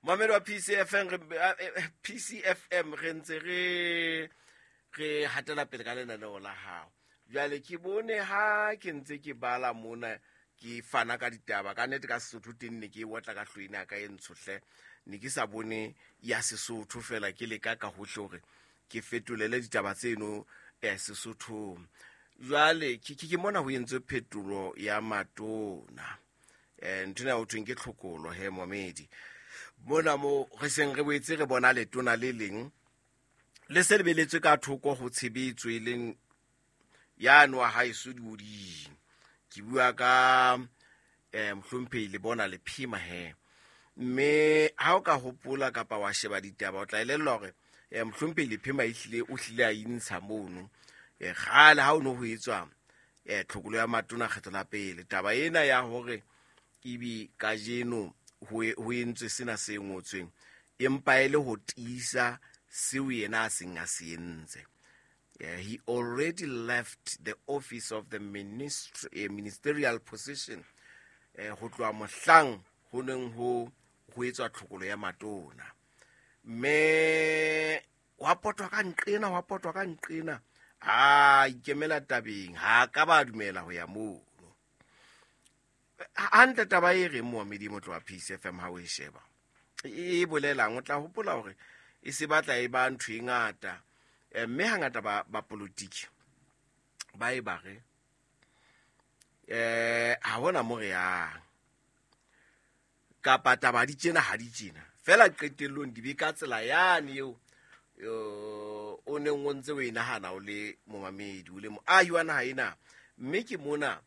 Mamedi wa PCFM re PCFM re ntse re re hatela pele ka lenaneo la hao. Jwale ke bone ha ke ntse ke bala mona ke fana ka ditaba ka nnete ka Sesotho teng ne ke e otla ka hloene ya ka e ntsho hle ne ke sa bone ya Sesotho fela ke leka ka hohle hore ke fetolele ditaba tseno eh, Sesothong. Jwale ke ke mona ho entswe phetolo ya matona. Eh, ntho ena ho thweng ke tlhokolo he momedi. Mona mo re seng re boetse re bona letona le leng le se lebeletswe ka thoko ho tshebetso e leng yane wa haeso dioding. Ke bua ka eh mohlomphehi le bona le phima he. Mme ha o ka hopola kapa wa sheba ditaba o tla elellwa hore eh mohlomphehi le phima ehlile o hlile a intsha mono. Eh kgale ha o no ho etswa eh tlhokolo ya matona kgetho la pele. Taba ena ya hore ebe kajeno ho entswe sena se ngotsweng empa e le ho tiisa seo yena a seng a se entse. He already left the office of the ministerial position ho tloha mohlang ho neng ho ho etswa tlhokolo ya matona. Mme wa potwa ka nqena, wa potwa ka nqena, a ikemela tabeng, ha ka ba dumela ho ya mono. Hantle taba e reng moamedi motlo wa Peace FM ha o e sheba e bolelang, o tla hopola hore e se batla e ba ntho e ngata, mme hangata ba politiki ba e ba re ha hona mo re yang kapa taba di tjena ha di tjena fela qetellong di be ka tsela yane eo o neng o ntse o e nahana o le momamedi o le moahi wa naha ena. Mme ke mona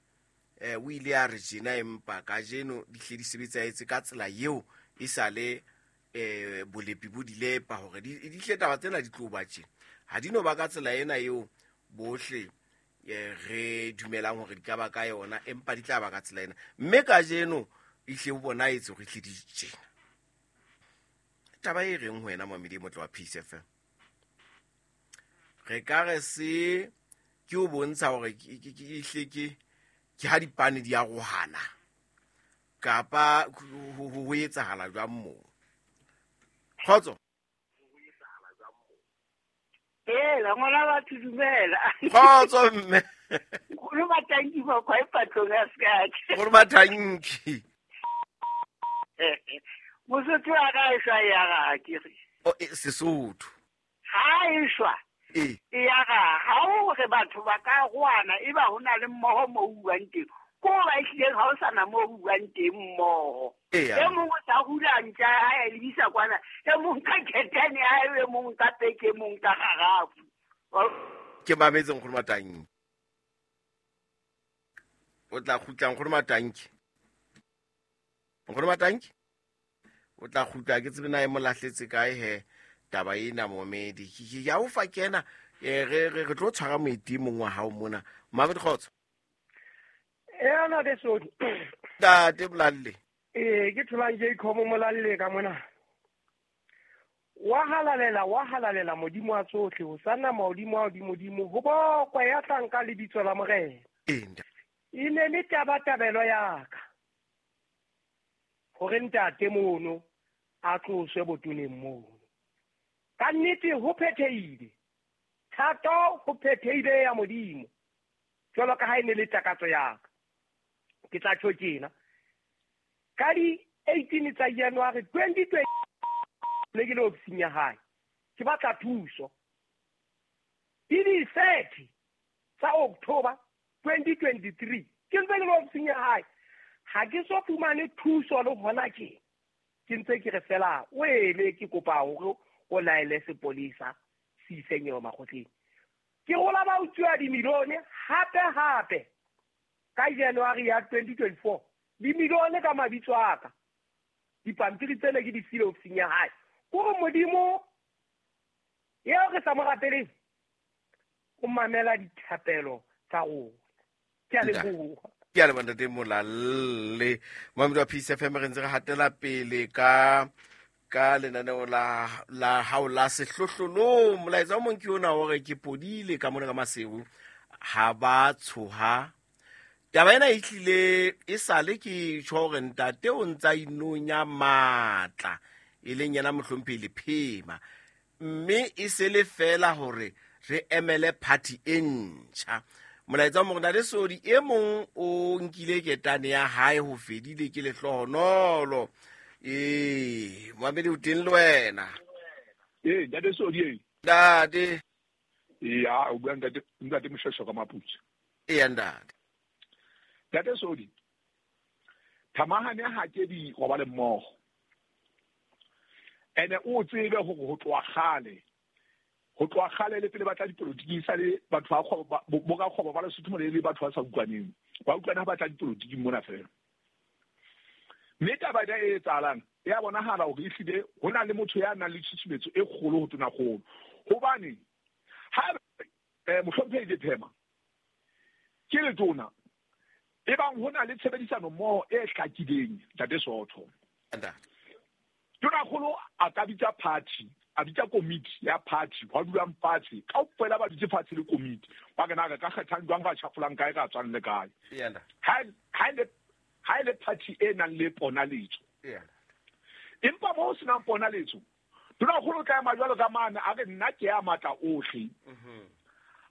o ile a re tjena empa kajeno di hle di sebetsaetse ka tsela eo e sa le bolepi bo di lepa hore di hle taba tsena di tlo ba tjena. Ha di no ba ka tsela ena eo bohle re dumelang hore di ka ba ka yona, empa di tla ba ka tsela ena. Mme kajeno e hle ho bonahetse hore e hle di tjena. Taba e reng ho wena momedi motle wa Peace FM? Re ka re se ke o bontsha hore ke hle ke ha dipane di arohana kapa ho etsahala jwang moo? Kgotso. Hela, ngwana batho dumela. Kgotso mme. Nkgono Matanki ba kwa e patlong ya sekake. Nkgono Matanki. Mosotho wa ka e shwa ya ga ke re. O Sesotho. Ha e shwa. E ya ga ha o re batho ba ka goana e ba hona le mmoho mo buang teng. Ko ba ehlileng ha o sana mo buang teng mmoho. E mong o tla hula ntja ha e lebisa kwana, e mong ka ketane ha e mong ka peke, e mong ka garafu. Ke mametse Nkgono Matanki. O tla kgutla Nkgono Matanki. Nkgono Matanki? O tla kgutla ke tsebe na e mo lahletse kae he taba ena momedi. Ke ya o fa kena re tlo tshwara moeti mong wa hao mona. Mamedi kgotso. Ana de sodi. Ntate Molalle. Ke tholang ke ikhomo Molalle ka mona. Wa halalela Modimo wa tsohle, ho sana mahodimo a hodimodimo, ho bokwe ya tlang ka lebitso la Morena. E ne le tabatabelo ya ka hore ntate mono a tloswe botoneng mono. Ka nnete ho phethehile, thato ho phethehile ya Modimo, jwalo ka ha e ne le takatso ya ka. Ke tla tjho tjena, ka di 18 tsa January 2020 ne ke le ofising ya hae, ke batla thuso. Di 30 tsa October 2023 ke ntse ke le ofising ya hae, ha ke so fumane thuso le hona tje. Ke ntse ke re fela o ele ke kopa hore o laele sepolisa se ise nyewe makgotleng. Ke rola ba utswa dimilione hape ka January ya 2024 dimilione ka mabitso a ka. Dipampiri tsena ke di file ofising ya hae. Kore Modimo eo re sa mo rapeleng o mamela dithapelo tsa rona. Ke a leboha. Ke a leboha ntate Molalle. Mamedi wa Peace FM re ntse re hatela pele ka lenaneo la hao la sehlohlolong. Molaetsa o mong ke ona hore ke podile ka mona ka Maseru ha ba tshoha. Taba ena e hlile e sale ke tjho hore ntate o ntsa inonya matla. e leng yena mohlomphehi Lephema, mme e se le fela hore re emele party e ntjha. Molaetsa wa morena le sodi e mong o nkile ketane ya hae ho fedile ke lehlohonolo. Ee, moamedi o teng le wena? Ee, ntate Sodi ee. Ntate. Ya, o bua ntate, ntate Moshweshwe ka Maputsi. Eya ntate. Ntate Sodi, thamahane ha ke di robale mmogo. Ene o tsebe hore ho tloha kgale, ho tloha kgale le pele ba tla dipolotiking sa le batho ba kgwebo, ba, bo rakgwebo ba Lesotho mona e le batho ba sa utlwaneng. Ba utlwana ha ba tla dipolotiking mona feela. Mme taba ena e etsahalang e a bonahala hore ehlile ho na le motho ya nang le tshusumetso e kgolo ho tonakgolo. Hobane ha mohlomphehi Lephema ke letona, ebang ho na le tshebedisano mmoho e hlakileng, Ntate Sootho. Tonakgolo a ka bitsa party, a bitsa komiti ya party, hwa dulang fatshe, kaofela ba dutse fatshe le komiti. Ba re na re ka kgethang jwang, ra tjhafolang kae, ra tswang le kae. Ha e le party e nang le ponaletso. Empa mo ho senang ponaletso, tonakgolo o tla ema jwalo ka mane a re nna ke ya matla ohle.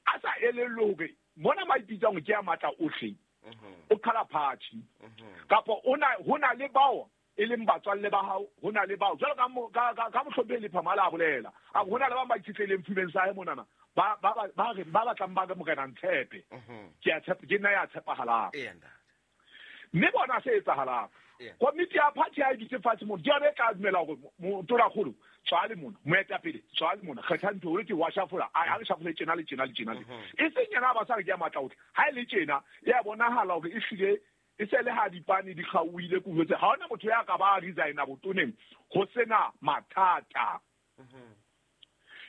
A sa elellwe hore mona ma ipitsang ke ya matla ohle, o qhala party. Kapa ho na le bao e leng batswalle ba hao, ho na le bao jwalo ka mohlomphehi Lephema la bolela, a ho na le ba ba itshetlehileng fumeng sa hae monana, ba batlang ba re morena ntshepe. Ke a tshepa, ke nna ya tshepahalang. Mme bona se etsahalang. Komiti ya party ha e dutse fatshe mona, ke yona e tla dumela hore tonakgolo, tswa le mona, moetapele, tswa le mona, kgetha ntho, hore ke wa shafola, a re shafole tjena le tjena le tjena le. E seng yena ba sa re ke ya matla ohle. Ha e le tjena, e a bonahala hore ehlile e se le ha dipane di kgaohile ke jwetse, ha hona motho ya ka ba resigna botoneng ho sena mathata.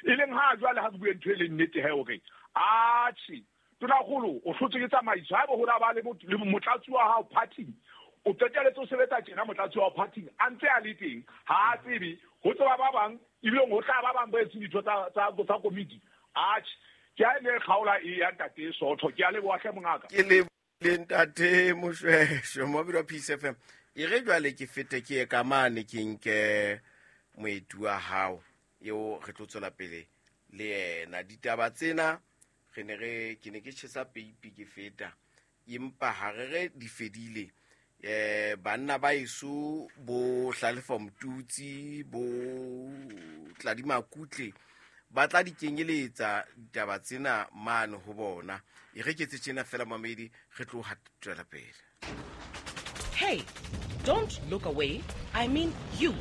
E leng ha jwale ha re bue ntho e leng nnete he hore atjhe tonakgolo o hlotswe ke tsamaiso, haeba ho la ba le motlatsi wa hao party, o qetelletse o sebetsa tjena motlatsi wa hao party a ntse a le teng, ha a tsebe ho tseba ba bang, ebile ho tla ba bang ba etseng ditho tsa komiti. Atjhe ke ha e ne kgaola e ya ntate Sootho, ke a leboha hle mongaka. Ke le le ntate Moshweshwe, moabedi wa Peace FM. E re jwale ke fete ke ye ka mane ke nke moeti wa hao eo re tlo tswela pele le yena. Ditaba tsena re ne re, ke ne ke tjhesa peipi ke feta, empa ha re re di fedile. Banna ba eso bo Hlalefa Motutsi, bo Tladi Makutle ba tla di kenyeletsa ditaba tsena mane ho bona. E re ke tse tjena fela mamedi, re tlo tswela pele. Hey, don't look away. I mean you.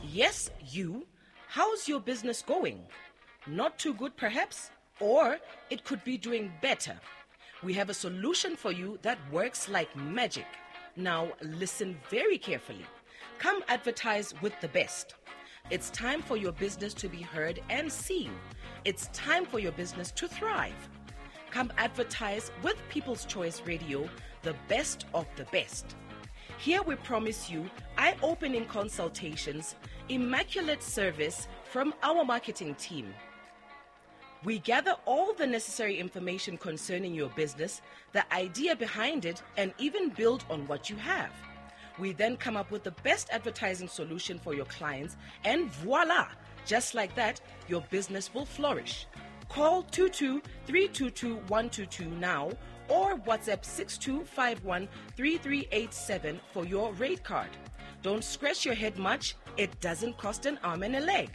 Yes, you. How's your business going? Not too good perhaps? Or it could be doing better. We have a solution for you that works like magic. Now listen very carefully. Come advertise with the best. It's time for your business to be heard and seen. It's time for your business to thrive. Come advertise with People's Choice Radio, the best of the best. Here we promise you eye-opening consultations, immaculate service from our marketing team. We gather all the necessary information concerning your business, the idea behind it, and even build on what you have. We then come up with the best advertising solution for your clients, and voila! Just like that, your business will flourish. Call 22-322-122 now or WhatsApp 6251-3387 for your rate card. Don't scratch your head much. It doesn't cost an arm and a leg.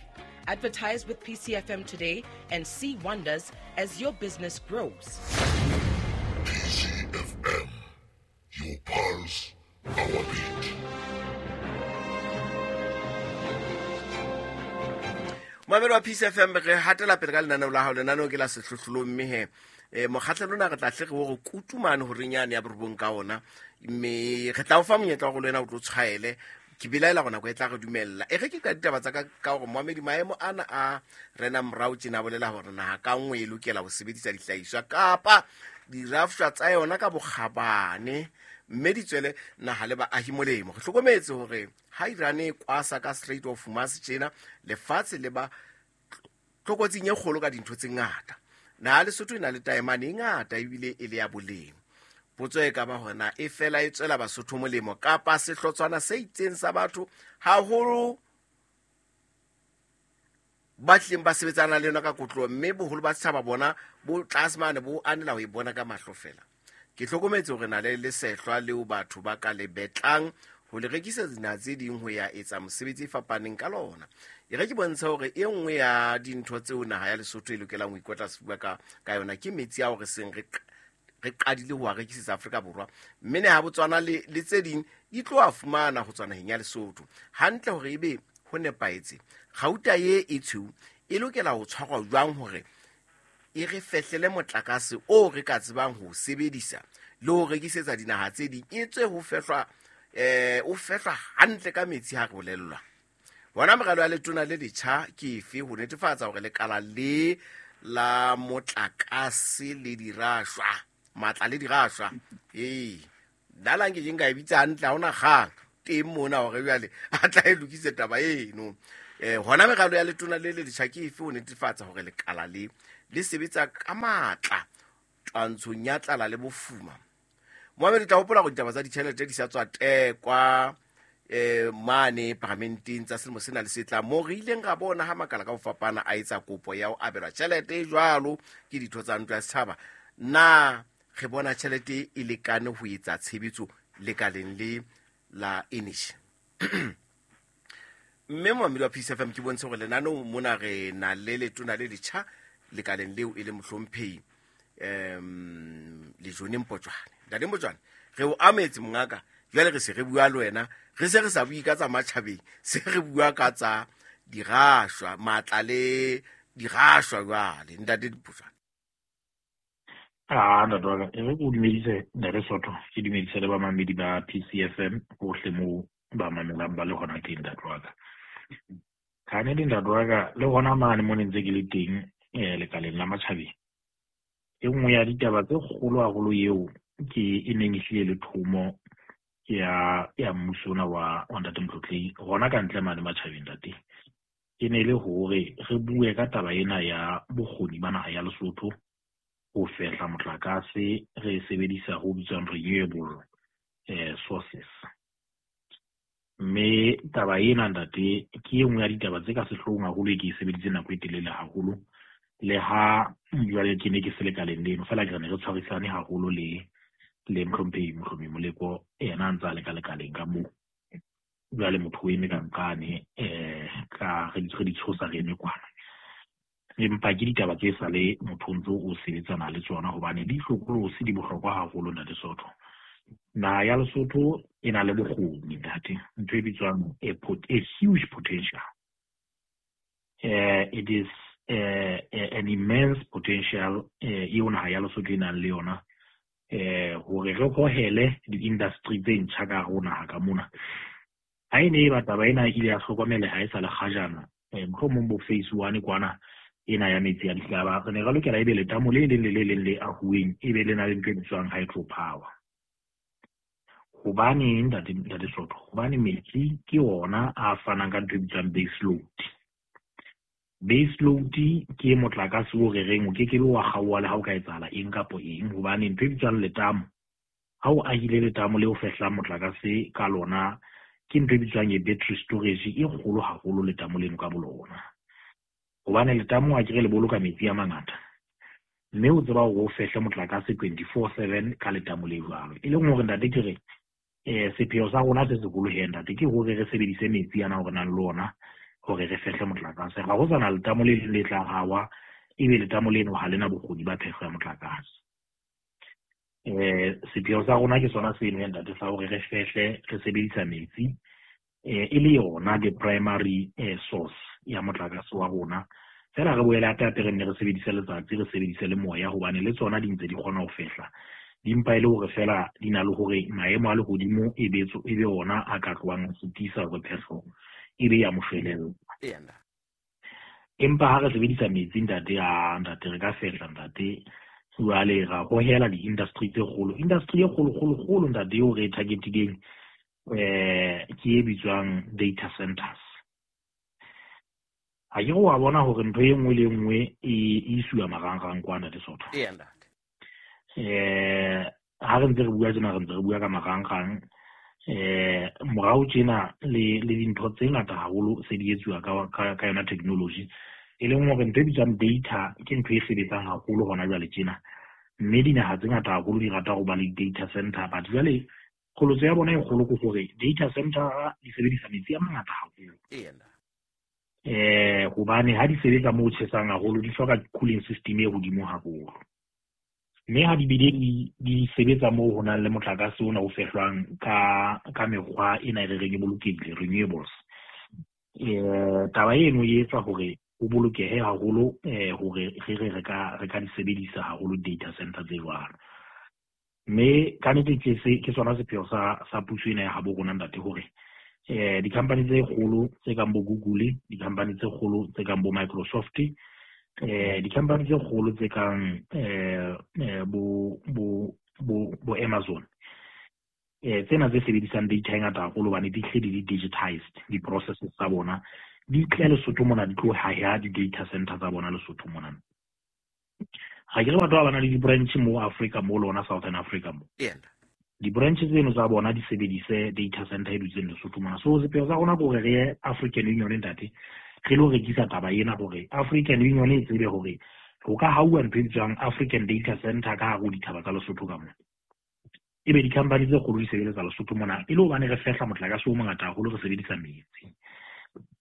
Advertise with PCFM today and see wonders as your business grows. PCFM, your pulse, our beat. Mamelo wa PCFM, re hatela pele ka lenaneo la hao, lenaneo ke la sehlohlolong, mme he, mokgahlelo ona re tla hle re o re kutumane hore nyane ya borobong ka ona, mme re tla o fa monyetla wa hore le wena o tlo tshwaele. Ke belaela hore nako e tla re dumella. E re ke ka ditaba tsa ka, ka hore moamedi maemo ana a rena morao tjena bolela hore naha ka nngwe e lokela ho sebedisa dihlahiswa kapa dirafshwa tsa yona ka bokgabane, mme di tswele naha le baahi molemo. Re hlokometse hore ha Iran e kwasa ka Strait of Hormuz tjena, lefatshe le ba tlokotsing e kgolo ka dintho tse ngata. Naha Lesotho e na le taemane e ngata ebile e le ya boleng. Potso e ka ba hore na e fela e tswela Basotho molemo kapa sehlotshwana se itseng sa batho haholo Ba tlileng ba sebetsana le yona ka kotloho, mme boholo ba setjhaba bona bo tlase mane bo anela ho e bona ka mahlo fela. Ke hlokometse hore na le lesehlwa leo batho ba ka le betlang ho le rekisetsa dinaha tse ding ho ya etsa mosebetsi e fapaneng ka lona. E re ke bontshe hore e nngwe ya dintho tseo naha ya Lesotho e lokelang ho ikotla sefuba ka yona ke metsi ao re seng re qadile ho a rekisetsa Afrika Borwa, mme naha ya Botswana le tse ding di tlo a fumana ho tswa naheng ya Lesotho. Hantle hore ebe ho nepahetse, kgauta ye e tshweu e lokela ho tshwarwa jwang hore e re fehlele motlakase o re ka tsebang ho sebedisa le ho rekisetsa dinaha tse ding, e tswe ho fehlwa, o fehlwa hantle ka metsi ha re bolellwa. Hona meralo ya letona le letjha ke efe ho netefatsa hore lekala le la motlakase le dirashwa, matla le dirashwa, ee, nna la nke ke nka e bitsa hantle, ha hona kgang teng mona hore jwale a tla e lokise taba eno. Hona meralo ya letona le le letjha ke efe ho netefatsa hore lekala le le sebetsa ka matla twantshong ya tlala le bofuma. Mohammed, tla hopola hore ditaba tsa ditjhelete di sa tswa tekwa mane paramenteng tsa selemo sena le se tlang, moo re ileng ra bona ha makala ka ho fapana a etsa kopo ya ho abelwa tjhelete e jwalo ke ditho tsa ntlo ya setjhaba. Na re bona tjhelete e lekane ho etsa tshebetso lekaleng le la energy? Mme momamedi wa Peace FM, ke bontshe hore lenaneong mona re na le letona le letjha lekaleng leo e le mohlomphehi Lejone Mpotjwane. Ntate Mpotjwane, re o ametse mongaka, jwale re se re bua le wena, re se re sa bue ka tsa matjhabeng, se re bua ka tsa dirashwa, matla le dirashwa jwale. Ntate Mpotjwane. Ntate wa ka, e re ke o dumedise Ntate Soto, ke dumedise le bamamedi ba PCFM bohle moo ba mamelang ba le hona teng, ntate wa ka. Ka nnete ntate wa ka, le hona mane mo ne ntse ke le teng, lekaleng la matjhabeng, e nngwe ya ditaba tse kgolo haholo eo ke e neng e hlile le thomo ya mmuso ona wa Ntate Motlotlei hona ka ntle mane matjhabeng, ntate, e ne le hore re bue ka taba ena ya bokgoni ba naha ya Lesotho ho fehla motlakase re sebedisa ho bitswang renewable sources. Mme taba ena ntate ke e nngwe ya ditaba tse ka sehloohong haholo e ke e sebeditse nako e telele haholo, le ha jwale ke ne ke se lekaleng leno, fela ke re ne re tshwarisane haholo le mohlomphehi Mohlomi Moleko, yena a ntse a le ka lekaleng ka moo. Jwale motho o eme ka nqane, ka re di tshosa re eme kwana. Empa ke ditaba tse sa le motho o ntso o sebetsana le tsona, hobane di hlokolosi, di bohlokwa haholo Ntate Soto. Naha ya Lesotho e na le bokgoni ntate, ntho e bitswang a huge potential. It is an immense potential eo naha ya Lesotho e nang le yona, hore re hohele di-industry tse ntjha ka hare ho naha ka mona. Ha e ne e ba taba ena e ile ya hlokomeleha e sa le kgajana, mohlomong bo phase 1 kwana ena ya metsi a dihlaba, re ne re lokela ebe letamo le leng le le leng le ahuweng e be le na le ntho e bitswang hydropower. Hobane ntate Soto, hobane metsi ke ona a fanang ka ntho e bitswang base load. Base load ke motlakase o re reng o ke ke be wa kgaoha le ha o ka etsahala eng kapo eng, hobane ntho e bitswang letamo, ha o ahile letamo le o fehlang motlakase ka lona, ke ntho e bitswang e battery storage e kgolo haholo letamo leno ka bolona. Hobane letamo a kere le boloka metsi a mangata, mme o tseba hore o fehle motlakase 24/7 ka letamo le jwalo. E leng hore ntate ke re, sepheo sa rona se seholo he ntate ke hore re sebedise metsi ana hore nang le ona hore re fehle motlakase. Ha ho sana letamo le leng le tla hawa, ebe letamo leno ha lena bokgoni ba phehlo ya motlakase. Sepheo sa rona ke sona seno he ntate, sa hore re fehle re sebedisa metsi, e le yona the primary source ya motlakase wa rona. Fela re boele hape hape re nne re sebedise letsatsi, re sebedise le moya, hobane le tsona di ntse di kgona ho fehla. Di mpa e le hore fela di na le hore maemo a lehodimo e be e be ona a ka tlohang a sitisa hore phehlo e be ya moshwelella. Empa ha re sebedisa metsi ntate, a ntate re ka fehla ntate, jwale ra hohela di-industry tse kgolo. Industry e kgolo, kgolo, kgolo ntate eo re e targetileng, ke e bitswang data centers. Ha ke re wa bona hore ntho e nngwe le e nngwe e isiwa marangrang kwa ntate Soto. Ntate. Ha re ntse re bua tjena, re ntse re bua ka marangrang, morao tjena le dintho tse ngata haholo se di etsuwa ka yona technology. E leng hore ntho e bitswang data ke ntho e sebetsang haholo hona jwale tjena. Mme dinaha tse ngata haholo di rata ho ba le data center, but jwale kgolotso ya bona e kgolo ke hore data center di sebedisa metsi a mangata haholo. Hobane ha di sebetsa moo tjhesang haholo di hloka cooling system e hodimo haholo. Mme ha di bile di sebetsa moo ho nang le motlakase ona o fehlwang ka mekgwa ena e re reng e bolokehile, renewables. Taba eno e etsa hore o bolokehe haholo hore re ka di sebedisa haholo data center tse jwalo. Mme ka nnete ke sona sepheo sa puso ena ya habo rona ntate hore di-company tse kgolo tse kang bo Google, di-company tse kgolo tse kang bo Microsoft, di-company tse kgolo tse kang bo Amazon, tsena tse sebedisang data e ngata haholo hobane di hle di digitized di-processes tsa bona, di tle Lesotho mona, di tlo haha di-data center tsa bona Lesotho mona. Ga ke re batho ba na le di-branch mo Africa mo le ona Southern Africa mo. Di-branch tseno tsa bona di sebedise data center e dutseng Lesotho mona. So sepheo sa rona ke hore re ye African Union ntate, re lo rekisa taba ena hore African Union e tsebe hore ho ka hauwa ntho e bitswang African Data Center ka hare ho dithaba tsa Lesotho ka mona. Ebe di-company tse kgolo di sebeletsa Lesotho mona e le hobane re fehla motlakase o mongata haholo, re sebedisa metsi.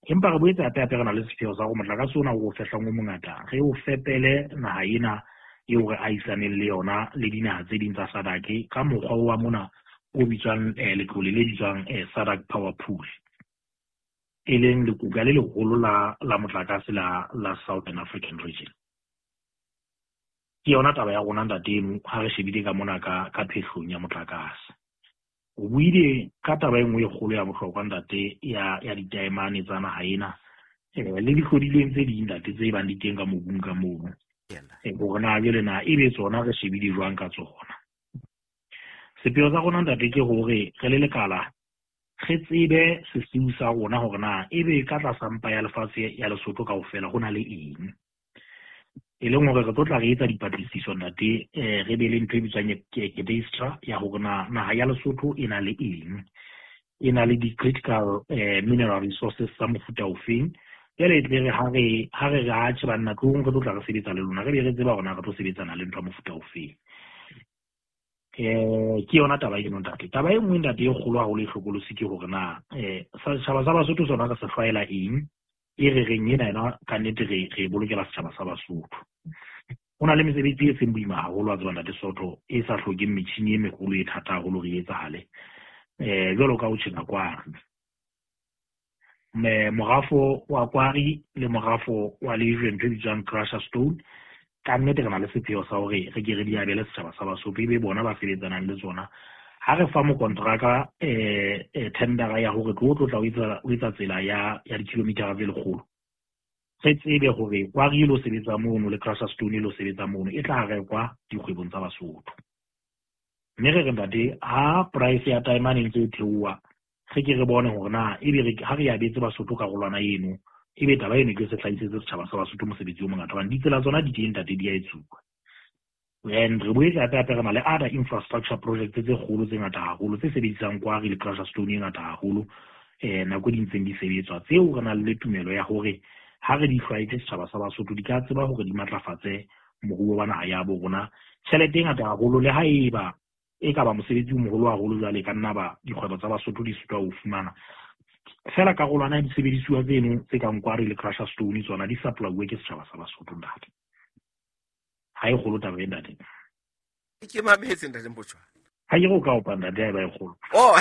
Empa re boetse hape hape re na le sepheo sa hore motlakase ona o fehlang o mongata re o fepele naha ena eo re ahisaneng le yona le dinaha tse ding tsa SADC ka mokgwa wa mona o bitswang letlole le bitswang SADC Power Pool, e leng lekuka le leholo la motlakase la Southern African Region. Ke yona taba ya rona ntate eno ha re shebile ka mona ka phehlong ya motlakase. O buile ka taba e nngwe e kgolo ya bohlokwa ntate ya ditaemane tsa naha ena le dihlodilweng tse ding ntate tse bang di teng ka mobung ka mono. Hore na jwale na ebe tsona re shebile jwang ka tsona. Sepheo sa rona ntate ke hore re le lekala re tsebe sesiu sa rona hore na ebe ka tlasa mpa ya lefatshe ya Lesotho kaofela ho na le eng. E leng hore re tlo tla re etsa dipatlisiso ntate, re be le ntho e bitswang cadastre ya hore na naha ya Lesotho e na le eng, e na le di-critical mineral resources tsa mofuta ofeng. Jwale e tle re ha re re atjhe banna tlong re tlo tla re sebetsa le lona, re be re tseba hore na re tlo sebetsana le ntho ya mofuta ofeng. Ke yona taba eno ntate. Taba e nngwe ntate e kgolo haholo e hlokolosi ke hore na setjhaba sa Basotho sona re se hlwaela eng, e re reng ena yona ka nnete re bolokela setjhaba sa Basotho. Ho na le mesebetsi e seng boima haholo wa tseba ntate Soto, e sa hlokeng metjhini e meholo e thata haholo re etsahale. Jwalo ka ho tjheka kwari. Morafo wa kwari le morafo wa lejwe ntho e bitswang crusher stone, ka nnete re na le sepheo sa hore re ke re di abele setjhaba sa Basotho ebe bona ba sebetsanang le tsona. Ha re fa mokontraka tendera ya hore tlo tla o etsa tsela ya di-kilometer tse lekgolo, re tsebe hore kwari e lo sebetsa mono le crusher stone e lo sebetsa mono e tla rekwa dikgwebong tsa Basotho. Mme re re ntate ha price ya taemane e ntse e theoha, re ke re bone hore na ebe ha re abetse Basotho karolwana eno, ebe taba eno ke se hlahisetse setjhaba sa Basotho mosebetsi o mongata hobane ditsela tsona di teng ntate di a etsuwa. And re boetse hape hape re na le other infrastructure projects tse kgolo tse ngata haholo tse sebedisang kwari le crusher stone e ngata haholo nako di ntseng di sebetswa, tseo re nang le tumelo ya hore ha re di hlwaetse setjhaba sa Basotho di ka tseba hore di matlafatse moruo wa naha ya bo rona. Tjhelete e ngata haholo le ha eba e ka ba mosebetsi o moholo haholo jwale ka nna ba dikgwebo tsa Basotho di sitwa ho fumana fela karolwana ya disebedisuwa tseno tse kang kwari le crusher stone tsona di supply-uwe ke setjhaba sa Basotho ntate. Ha e kgolo taba e ntate. Ke mametse ntate Mpotjoane. Ha ke re o ka opa ntate ha eba e kgolo. Oh.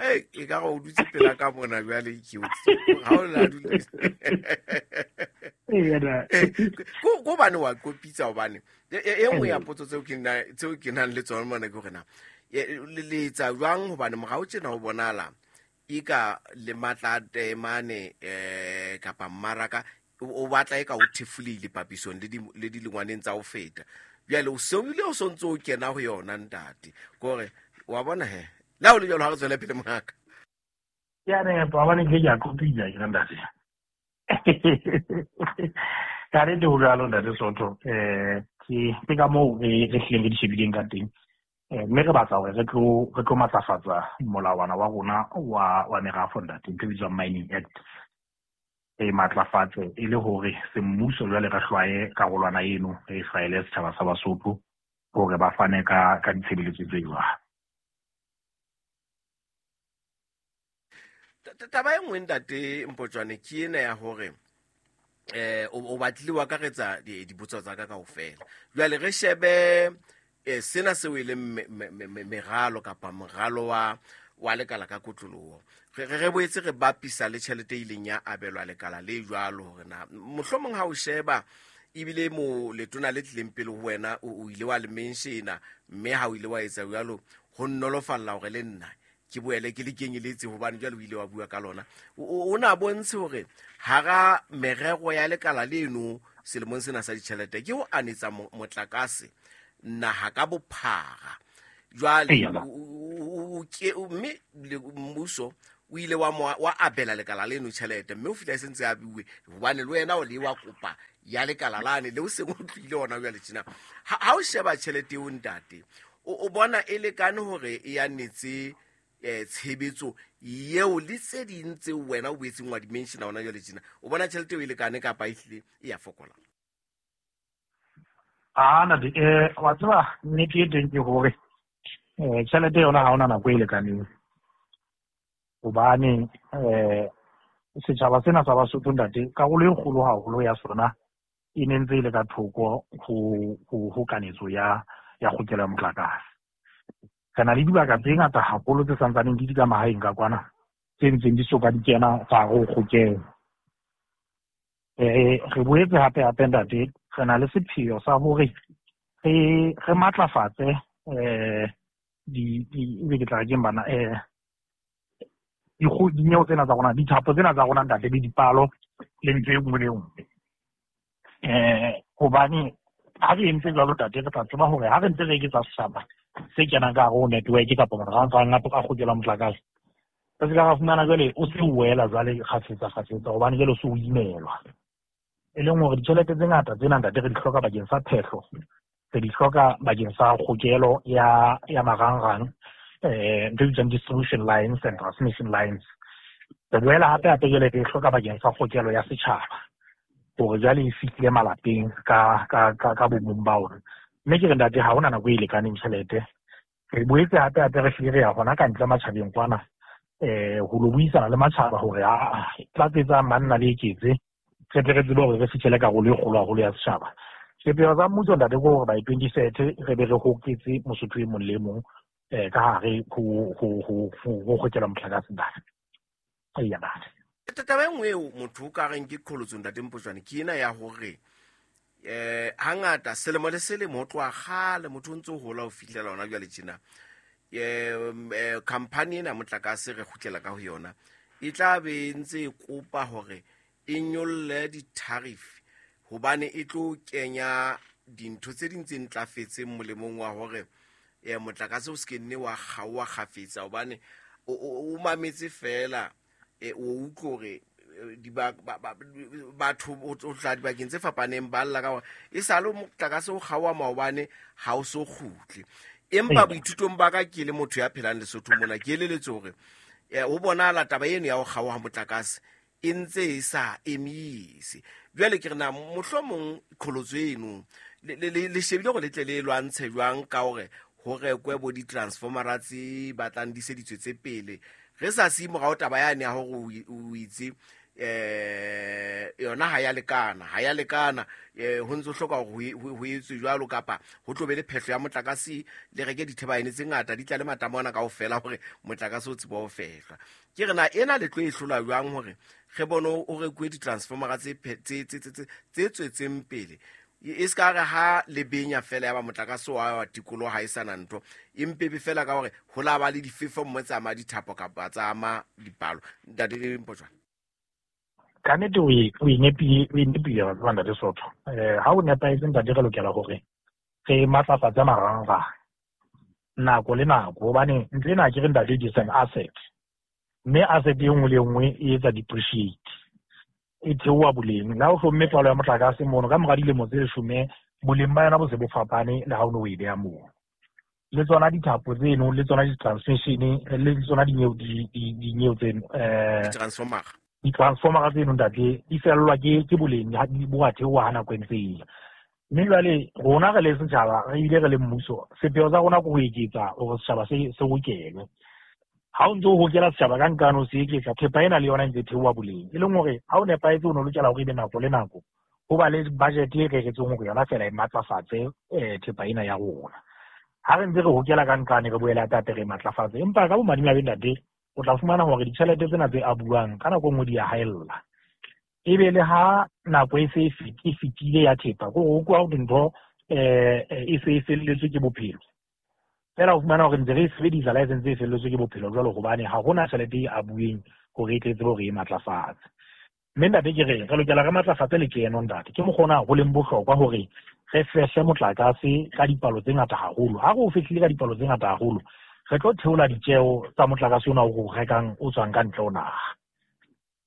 Hey, e ka re o dutse pela ka mona jwale ke o ha o la dutse. Ko bane wa kopitsa hobane e nngwe ya potso tseo ke nang le tsona mona ke hore na le etsa jwang hobane morao tjena ho bonala e ka le matla a taemane kapa mmaraka o batla e ka o thefulile papisong le dilengwaneng tsa ho feta. Jwale o se o ile o sontso o kena ho yona ntate. Kore wa bona he. Le ha o le jwalo ha re tswele pele mongaka. Ke a nepa hobane ke a kopitsa ke ntate. Ka nnete ho jwalo ntate Soto. Ke ka moo re hlileng re di shebileng ka teng. Mme re batla hore re tlo matlafatsa molawana wa rona wa merafo ntate, ntho e bitswang Mining Act. E matlafatse e le hore semmuso jwale re hlwaye karolwana eno, re hlwaele setjhaba sa Basotho hore ba fane ka ditshebeletso tse jwalo. Taba e nngwe ntate Mpotjoane ke ena ya hore o batlile wa akaretsa dipotso tsa ka kaofela. Jwale re shebe sena seo e leng meralo kapa moralo wa lekala ka kotloloho. Re boetse re bapisa le tjhelete e ileng ya abelwa lekala le jwalo hore na mohlomong ha o sheba ebile mo letona le tlileng pele ho wena o ile wa le menshena, mme ha o ile wa etsa jwalo ho nnolofalla hore le nna ke boele ke le kenyeletse hobane jwale o ile wa bua ka lona. O na bontshe hore hara merero ya lekala leno selemong sena sa ditjhelete ke ho anetsa motlakase naha ka bophara. Jwale mme mmuso o ile wa abela lekala leno tjhelete, mme o fihla e sentse a bue hobane le wena o le wa kopa ya lekala lane le o seng o tlile ona jwale tjena. Ha o sheba tjhelete eo ntate, o bona e lekane hore e anetse tshebetso eo le tse ding tseo wena o boetseng wa di-mentiona hona jwale tjena, o bona tjhelete eo e lekane kapa ehlile e ya fokola? Ntate, wa tseba nnete e teng ke hore tjhelete yona ha hona nako e lekaneng, hobane setjhaba sena sa Basotho ntate, karolo e kgolo haholo ya sona e ne ntse e le ka thoko ho kanetso ya kgokelo ya motlakase. Re na le dibaka tse ngata haholo tse santsaneng di di ka mahaeng ka kwana, tse ntseng di soka di kena ka hare ho kgokelo. Re boetse hape ntate, re na le sepheo sa hore re matlafatse ebe ke tla re keng bana, dineo tsena tsa rona, dithapo tsena tsa rona ntate, le dipalo le ntho e nngwe le nngwe. Hobane ha re entse jwalo ntate, re tla tseba hore ha re ntse re eketsa setjhaba se kenang ka hare ho network kapa marangrang a kgokela motlakase, re se ka ra fumana jwale o se o wela jwale kgafetsa hobane jwale o se o imelwa. E leng hore ditjhelete tse ngata tsena ntate re di hloka bakeng sa phehlo, re di hloka bakeng sa kgokelo ya marangrang, ntho e bitswang distribution lines and transmission lines. Re boela hape jwale re e hloka bakeng sa kgokelo ya setjhaba hore jwale e fihlile malapeng ka bomong ba ona. Mme ke re ntate, ha hona nako e lekaneng tjhelete. Re boetse hape re hlile re ya hona ka ntle matjhabeng kwana, ho lo buisana le matjhaba hore tlatsetsa manna le eketse, re tle re tsebe hore re fihlele karolo e kgolo haholo ya setjhaba. Sepheo sa mmuso ntate ke hore by 2030 re be re hoketse Mosotho e mong le mong ka hare ho kgokela motlakase ntate. Eya ntate. Taba e nngwe eo motho o ka reng ke qholotso ntate Mpotjoane ke ena ya hore hangata selemo le selemo ho tloha kgale motho o ntse o hola ho fihlela hona jwale tjena, company ena motlakase re kgutlela ka ho yona e tla be e ntse e kopa hore e nyolle di-tariff hobane e tlo kenya dintho tse ding tse ntlafetseng molemong wa hore motlakase o se ke nne wa kgaoha kgafetsa, hobane o mametse fela o utlwe hore batho o tla dibakeng tse fapaneng ba lla ka hore e sale motlakase o kgaoha maobane ha o so kgutle. Empa boithutong ba ka ke le motho ya phelang Lesotho mona, ke eleletse hore ho bonahala taba eno ya ho kgaoha motlakase e ntse e sa emise. Jwale ke re na mohlomong qholotso eno le shebile hore le tle le lwantshe jwang ka hore ho rekwe bo di-transformera tse batlang di se di tswetse pele, re sa siye morao taba yane ya hore o itse yona ha ya lekana, ho ntse ho hloka hore ho etswe jwalo kapa ho tlo be le phehlo ya motlakase, le reke dithebaene tse ngata di tla le matamo ana kaofela hore motlakase o tsebe ho fehlwa. Ke re na ena le tlo e hlola jwang hore re bone o rekuwe di-transformera tse tswetseng pele, e se ka re ha le benya fela ya ba motlakase wa tikoloho ha e sana ntho, empe be fela ka hore ho la ba le difefo mme tsa ama dithapo kapa tsa ama dipalo. Ntate Mpotjoane. Ka nnete o e nepile wa tseba ntate Sotho. Ha o nepahetse ntate, re lokela hore re matlafatse marangrang nako le nako, hobane ntho ena ke re ntate it is an asset, mme asset e nngwe le nngwe e etsa depreciate, e theoha boleng. Le ha o hlomme palo ya motlakase mono ka mora dilemo tse 10, boleng ba yona bo se bo fapane le ha o no o e beha moo. Le tsona dithapo tseno, le tsona di-transmission, le tsona dineo tseno, di-transformer. Di-transformer tseno ntate di fellwa ke boleng bo a theoha ha nako e ntse e ya. Mme jwale rona re le setjhaba re ile re le mmuso, sepheo sa rona ke ho eketsa hore setjhaba se hokelwe. Ha o ntso o hokela setjhaba ka nkane o se eketsa, thepa ena le yona e ntse e theoha boleng. E leng hore ha o nepahetse o no lokela hore ebe nako le nako ho ba le budget e reretsweng hore yona feela e matlafatse thepa ena ya rona. Ha re ntse re hokela ka nqane re boele hape re matlafatse, empa ka bomadimabe ntate o tla fumana hore ditjhelete tsena tse abuwang ka nako e nngwe di a haella. Ebe le ha nako e se e fetile ya thepa, ke hore o kwa dintho e se e felletswe ke bophelo. Feela o fumana hore ntse re e sebedisa la e sentse e felletswe ke bophelo jwalo, hobane ha hona tjhelete e abuweng hore e tle tsebe hore e matlafatse. Mme ntate ke re lokela re matlafatse lekeno ntate. Ke mokgona ho leng bohlokwa hore re fehle motlakase ka dipalo tse ngata haholo. Ha re o fehlile ka dipalo tse ngata haholo, re tlo theola ditjeo tsa motlakase ona o re rekang o tswang ka ntle ho naha.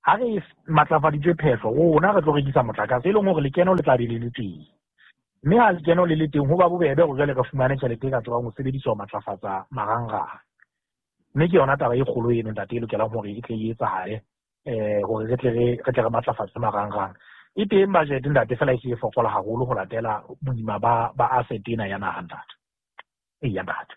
Ha re matlafaditse phehlo, rona re tlo rekisa motlakase e leng hore lekeno le tla be le le teng. Mme ha lekeno le le teng, ho ba bobebe hore jwale re fumane tjhelete e ka tsebang ho sebediswa ho matlafatsa marangrang. Mme ke yona taba e kgolo eno ntate e lokelang hore e tle e etsahale, hore re tle re matlafatse marangrang. E teng budget ntate, fela e se e fokola haholo ho latela boima ba asset ena ya naha ntate. Eya ntate.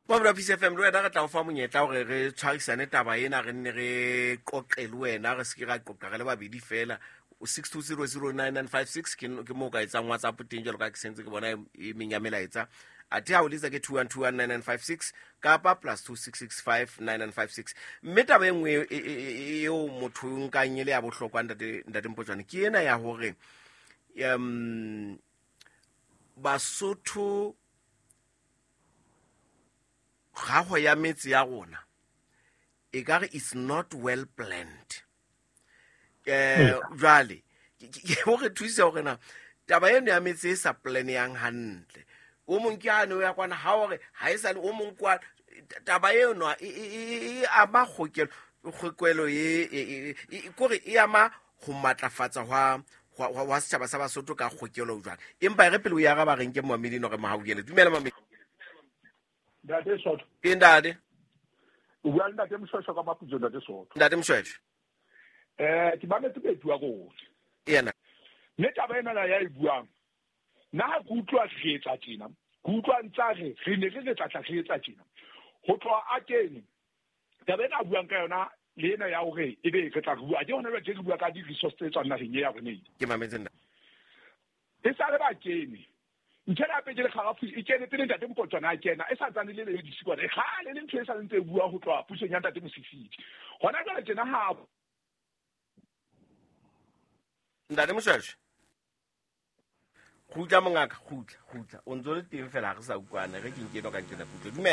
Mabula Peace FM le wena re tla o fa monyetla hore re tshwarisane taba ena, re nne re qoqe le wena, re se ke ra qoqa re le babedi fela. 62009956 ke moo ka etsang WhatsApp teng, jwalo ka ke sentse ke bona e meng ya melaetsa. Athe ha o letsa ke 21219956 kapa +26659956. Mme taba e nngwe eo motho o nkang e le ya bohlokwa ntate Mpotjoane ke ena ya hore Basotho gago ya metse ya rona e ka re it's not well planned. Jwale ke hore thusa hore na taba eno ya metse e sa plan yang hantle. O mong ke ane o ya kwana ha hore ha e sale o mong kwa taba eno e ama kgokelo e kore e ama ho matlafatsa hwa setjhaba sa Basotho ka kgokelo jwang. Empa re pele o ya ba reng ke momedi no re mohaukele. Dumela momedi. Ntate Sotho. Ke ntate. O bua le ntate Mshweshwe ka Maputsoe, ntate Sotho. Ntate Mshweshwe. Ke mametse bethu wa rona. Yena. Mme taba ena ya e buang. Nna ha ke utlwa re etsa tjena, ke utlwa ntsa re ne re tla tla re etsa tjena. Ho tloha a kene. Taba ena a buang ka yona le ena ya hore ebe re tla re bua. Ke hona jwale re bua ka di-resource tse tswang naheng ya rona. Ke mametse nna. E sa le ba kene. Ntho ena hape ke le kgarafu e kene pele ntate Mpotjoane a kena, e sa ntsane le le disikwana. E kgale le ntho e sa ntse e bua ho tloha pusong ya ntate Mosisili. Hona jwale tjena ha Ntate Mshweshwe. Kgutla mongaka, kgutla. O ntso le teng fela ha re sa utlwane. Re ke nke eno ka nqena kutlwe. Dumela.